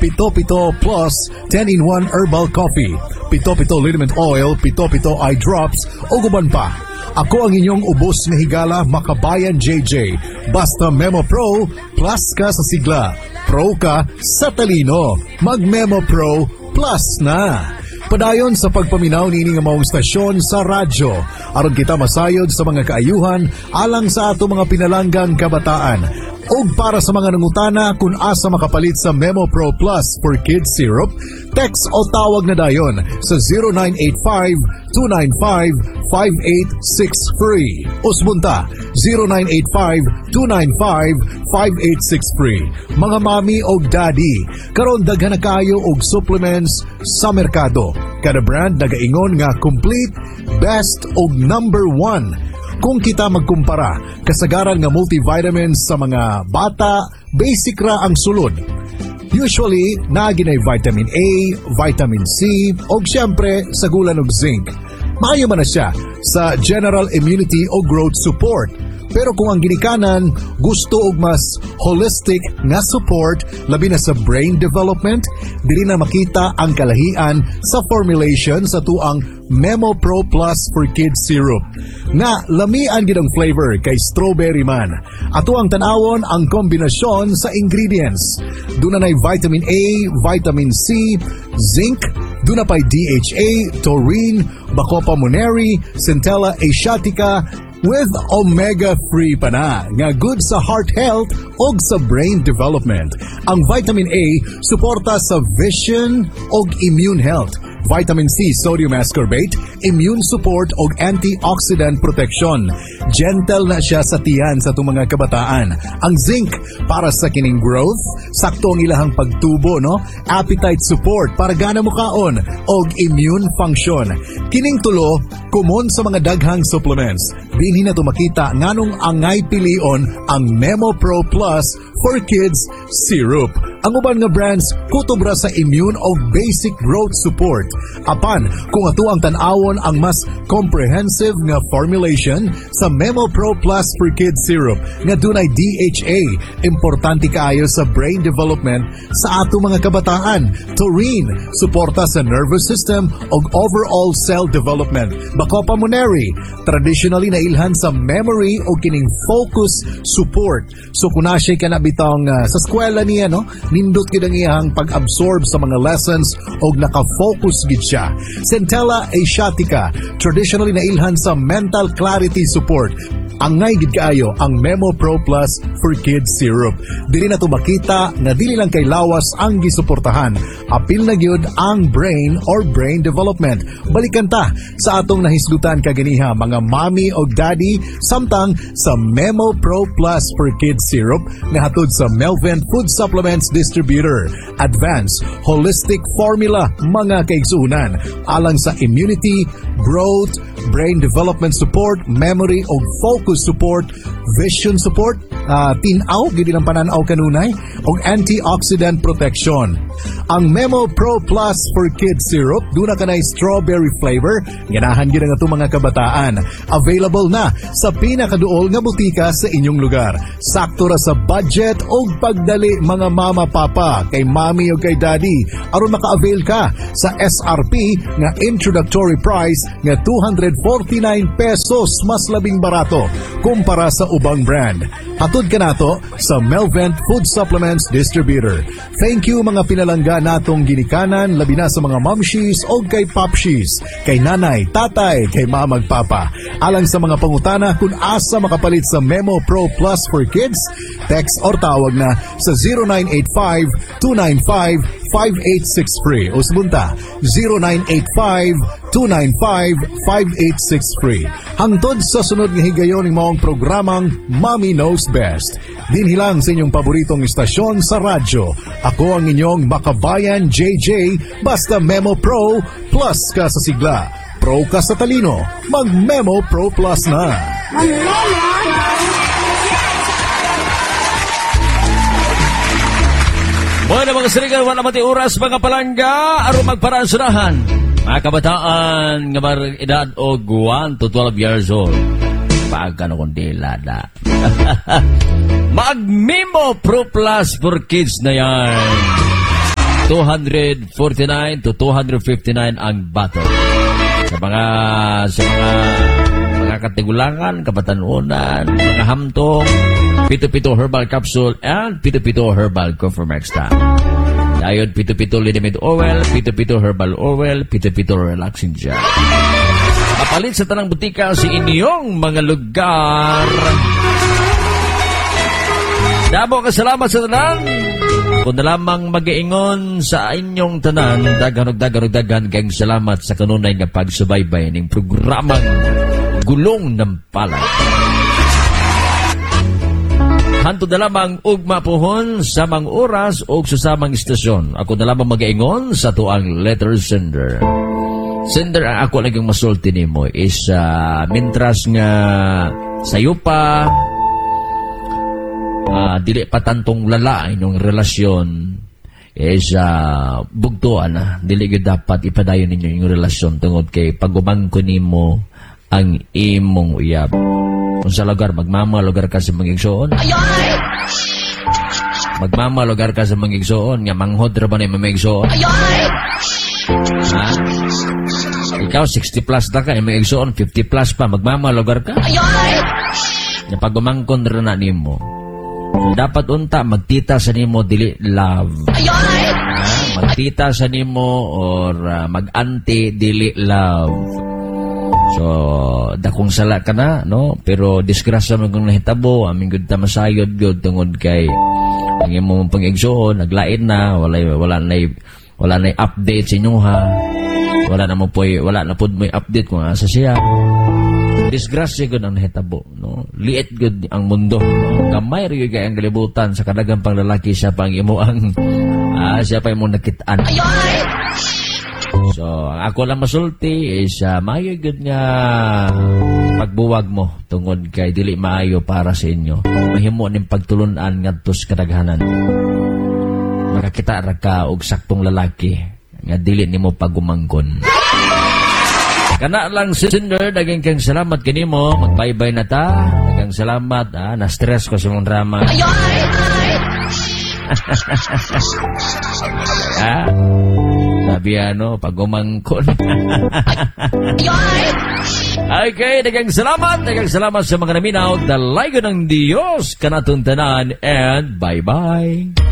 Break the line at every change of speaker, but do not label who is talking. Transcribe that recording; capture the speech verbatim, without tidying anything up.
Pito Pito Plus ten in one Herbal Coffee, Pito Pito Liniment Oil, Pito Pito Eye Drops, o uban pa. Ako ang inyong ubos nga higala, Makabayan J J. Basta Memo Pro, plus ka sa sigla. Pro ka sa talino. Mag-Memo Pro Plus na. Padayon sa pagpaminaw niini nga maong stasyon sa radyo aron kita masayod sa mga kaayuhan alang sa ato mga pinalanggang kabataan. Og para sa mga nangutana kung asa makapalit sa Memo Pro Plus for Kids Syrup, text o tawag na dayon sa zero nine eight five, two nine five, five eight six three. Usbon ta, zero nine eight five, two nine five, five eight six three. Mga mami og daddy, karon daghan na kaayo og supplements sa merkado. Kada brand nagaingon nga complete, best og number one. Kung kita magkumpara, kasagaran nga multivitamins sa mga bata, basic ra ang sulod. Usually, naa ginay vitamin A, vitamin C, og siyempre, sagulan og zinc. Maayo man na siya sa general immunity o growth support. Pero kung ang ginikanan gusto og mas holistic nga support, labi na sa brain development, dili na makita ang kalahian sa formulation sa atuang Memo Pro Plus for Kids Syrup. Nga lamian gid ang flavor kay strawberry man. Ato ang tan-awon ang kombinasyon sa ingredients. Duna nay vitamin A, vitamin C, zinc, duna pay D H A, taurine, Bacopa monnieri, Centella asiatica, with omega three pa na nga good sa heart health og sa brain development. Ang vitamin A suporta sa vision og immune health. Vitamin C, sodium ascorbate, immune support og antioxidant protection. Gentle na siya sa tiyan sa atong mga kabataan. Ang zinc para sa kining growth, sakto ang ilahang pagtubo, no? Appetite support para gana mo kaon og immune function. Kining tulo common sa mga daghang supplements. Dinhi na to makita nganong angay pilion ang Memo Pro Plus for Kids Syrup. Ang uban nga brands kutob ra sa immune o basic growth support. Apan kung ato ang tan-awon ang mas comprehensive nga formulation sa Memo Pro Plus for Kids Syrup nga dunay D H A, importante kaayo sa brain development sa ato mga kabataan. Taurine, suporta sa nervous system ug overall cell development. Bacopa monnieri, traditionally nailhan sa memory o kining focus support. So kung na siya kana bitong uh, sa eskwela niya, no, nindot gid ang iyang pag-absorb sa mga lessons og naka-focus gid siya. Centella asiatica, traditionally nailhan sa mental clarity support. Angay gid kaayo ang Memo Pro Plus for Kids Syrup. Dili na to makita nga dili lang kay lawas ang gisuportahan. Apil na gyud ang brain or brain development. Balikan ta sa atong nahisgutan kaganiha, mga mommy og daddy, samtang sa Memo Pro Plus for Kids Syrup nga hatod sa Melvin Food Supplements Distributor. Advanced holistic formula, mga kaigsuunan, alang sa immunity, growth, brain development support, memory og focus support, vision support, uh, tin-aw gid ilang pananaw kanunay og antioxidant protection. Ang Memo Pro Plus for Kids Syrup duna kanay strawberry flavor, ganahan gid ang atong mga kabataan. Available na sa pinakaduol nga botika sa inyong lugar. Sakto ra sa budget og pagdali, mga mama, papa, kay mami o kay daddy, aron maka-avail ka sa S R P nga introductory price nga two hundred forty-nine pesos, mas labing barato kumpara sa ubang brand. Hatod kanato sa Melvent Food Supplements Distributor. Thank you, mga pinalangga natong ginikanan, labi na sa mga momshies o kay popshies, kay nanay, tatay, kay mamag papa. Alang sa mga pangutana kung asa makapalit sa Memo Pro Plus for Kids, text or tawag na sa zero nine eight five, two nine five, five eight six three. Usbon ta, zero nine eight five, two nine five, five eight six three. Hangtod sa sunod nga higayon ning maong programang Mommy Knows Best. Dinhi lang sa inyong paboritong istasyon sa radyo. Ako ang inyong Makabayan J J. Basta Memo Pro, plus ka sa sigla. Pro ka sa talino. Mag Memo Pro Plus na.
Mag-memo.
Bueno, mga sarigan, wala mati oras, mga palangga, aron magparaan. Mga kabataan nga mar edad og one to twelve years old. Pagkano kundi lada. Mag-Memo Pro Plus for Kids na yan. two hundred forty-nine to two hundred fifty-nine ang bottle. Sa mga sa mga mga katigulangan, kabatanunan, mga hamtong, Pito-Pito Herbal Capsule and Pito-Pito Herbal Conformexta. Dayon Pito-Pito Liniment Oil, Pito-Pito Herbal Oil, Pito-Pito Relaxing Gel. Mapalit sa tanang butika sa inyong mga lugar. Damo ka salamat sa tanan. Kung na lamang mag-iingon sa inyong tanan, daghan og daghan og daghan kayong salamat sa kanunay nga pagsubaybay ning programang Gulong ng Palad. Hantod na lamang ugma pohon, samang oras o sa samang istasyon. Ako na lamang mag-iingon sa tuang letter sender. Sender, ang ako lang yung masulti nimo is uh, mintras nga sayo pa, uh, dili pa tantong lala inyong relasyon is uh, bugtuan na dili gyud dapat ipadayon ninyo inyong relasyon tungod kay pagumangko nimo ang imong uyab. Kung sa lugar magmama lugar ka sa mga igsoon, magmama lugar ka sa mga igsoon nga manghod ra ba na imong mga igsoon, ha? Ikaw sixty plus na ka, imong igsoon fifty plus pa, magmama lugar ka nga pagumangkon ra na nimo. Dapat unta magtita sa nimo, dili love. Ha? Magtita sa nimo or uh, mag-auntie, dili love. So, dakong sala ka na, no? Pero disgrasya man kung nahitabo, aming gud ta masayod gud tungod kay ang imong pang-igsoon naglain na, wala wala na wala na update sa inyo, ha. Wala na mo poy, wala na pud mo'y update kung asa siya. Disgrasya gud ang nahitabo, no? Liit gud ang mundo, no? Gamay ra gyud kay ang kalibutan. Sa kadaghang pang lalaki, siya pang imo ang ah, siya pa imong nakit-an. So, ang ako lang masulti is uh, maayo gud nga pagbuwag mo tungod kay dili maayo para sa inyo. Mahimo ning pagtulunan ngadto sa kadaghanan. Makakita ra ka og saktong lalaki nga dili nimo pagumangkon. Kana lang, sender, daghang kang salamat kanimo. Magbaybay na ta. Daghang salamat. Ah, na-stress ko sa mong drama. Ah, sabi ano, pagumangkon. Okay, daghang salamat. Daghang salamat sa mga naminaw. Dalaygon ng Diyos kanatong tanan and bye-bye.